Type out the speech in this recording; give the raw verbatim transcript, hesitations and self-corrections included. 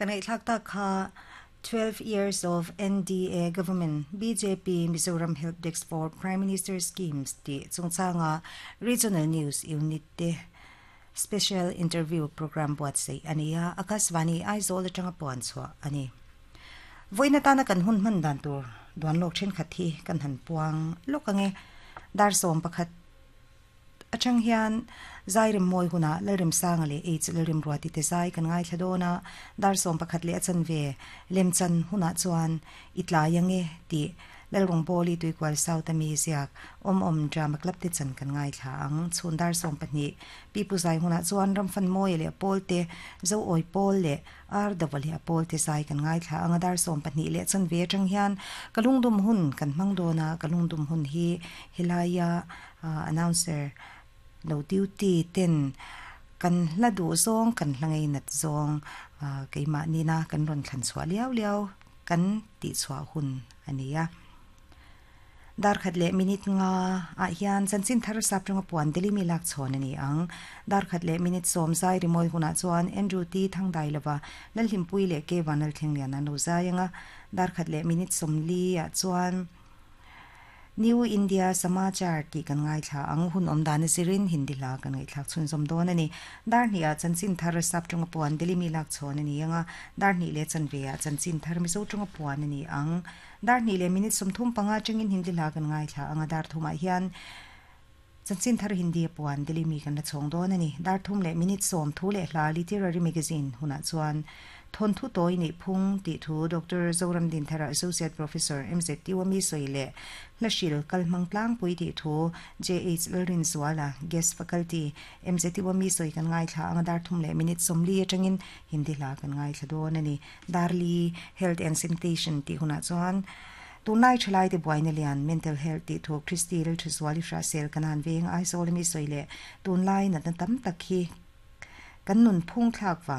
Kan ngaihthlak tak kha twelve years of N D A Government, B J P Mizoram Help Desk for Prime Minister Schemes tih chungchanga Regional News Unit te special interview program buatsaih a ni a, Akashvani Aizawl atanga puan chhuah a ni. Vawiin atana kan hun hman dan tur duan lawk thenkhat hi kan han puang lawk ange. Dar sawm pakhat atang hian Zairim mawi hunah Lalrimsanga leh H Lalrimruati te zai kan ngaithla dawn a, dar sawm pakhat leh a chanve lemchan hunah chuan I tlai ange tih Lalrawngbawli Tuikual South ami ziak Awm Awm Drama Club te chan kan ngaithla ang. Chhun dar sawm pahnih Pipu zai hunah chuan Ramfan Mawia leh a pawl te, Zoawi pawl leh Ar Dava leh a pawl te zai kan ngaithla ang a, dar sawm pahnih leh chanve atang hian Ka lungdum hun kan hmang dawn a, ka lungdum hun hi helaia announcer lo duty ten kan hla duh zawng, kan hla ngei nat zawng keimah nina kan rawn thlan chhuah liau liau kan tih chhuah hun a ni a. Dar khat leh minute nga ah hian chanchin thar sap tanga puan Delhi mi lak chhawn a ni ang. Dar khat leh minute sawm zai rimawi hunah chuan Andrew T Thangdai lova Lalhlimpui leh K Vanal Thleng Lian an lo zai anga, dar khat leh minute sawmli ah chuan New India Samachar tih kan ngaithla ang. Hun awm dan a zirin Hindi hla kan ngaihthlak chhunzawm dawn a ni. Dar hnih ah chanchin thar sap tanga puan Delhi mi lak chhawn a ni anga, dar hnih leh chanve ah chanchin thar Mizo tanga puan a ni ang. Dar hnih leh minute sawmthum panga atangin Hindi hla kan ngaithla anga, dar thumah hian chanchin thar Hindi a puan Delhi mi kan la chhawng dawn a ni. Dar thum leh minute sawm thu leh hla literary magazine hunah chuan Thon thu toi ni phung ti thu Doctor Zoram Din Thara, Associate Professor M Z T mi soi leh hlashil kalmang tlang pui ti thu J H Lalrin Zuala, Guest Faculty, M Z T mi soi kan ngai thla anga, dar thum leh minute somli atangin Hindi hla kan ngai thla dawn ani. Darli Health and Sanitation ti hunah chuan tunlai thalai te buaina lian mental health ti thu Christy Lalthuzuali Hrahsel, Kanan Veng, Aizawl mi soi leh tunlai natna tam tak hi kan nun phung thlak wang